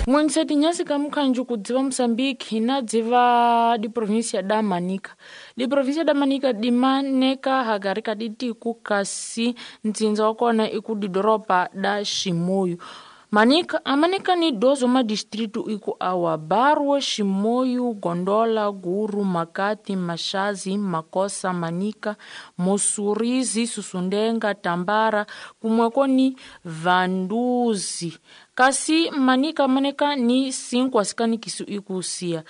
N'wengiseti nyasi ka mukhanju kudziva Moçambique na dziva diprovíncia da Manica. Diprovíncia da Manica dimaneka hakari ka ditiku kasi ntsindza wa kona i ku didoropa da Chimoio. Manica amanika ni 12 madistritu iku awa Barwa, Chimoio, Gondola, Guru, Makati, Machazi, Makossa, Manica, Mossurize, Sussundenga, Tambara, kumweko ni Vanduzi. Kasi Manica amaneka ni 5 asikanikisu ikusiya.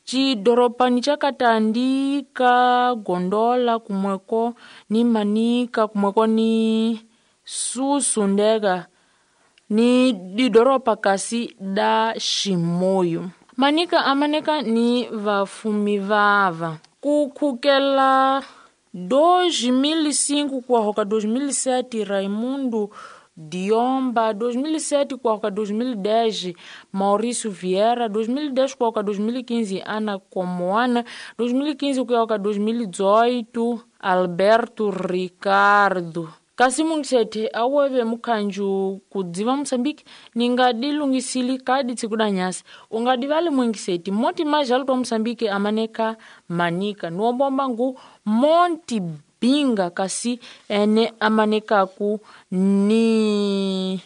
Cidorobani cakatandika Gondola kumweko ni Manica kumweko ni Sussundenga ni didoropa kasi da Chimoio. Manica amaneka ni vafumi vava. Kukhukela 2005 kuahoka 2007 Raimundo Diomba, 2007 kuahoka 2010 Maurício Vieira, 2010 kuahoka 2015 Ana Comoana, 2015 kuahoka 2018 Alberto Ricardo. Kasi mungisete aweve mukhanju kudziva Moçambique ningadilungisili kadi tsiku da nyasi ungadivali mungiseti monte mais alto Moçambique amaneka Manica nuombomba ngu Monte Binga kasi ene amanekaku ni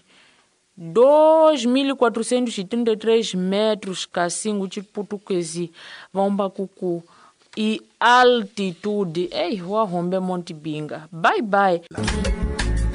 2433 metros kasi ngu ciputukezi vaomba kuku i altitude. Ei, wahombe Monte Binga. Bye bye.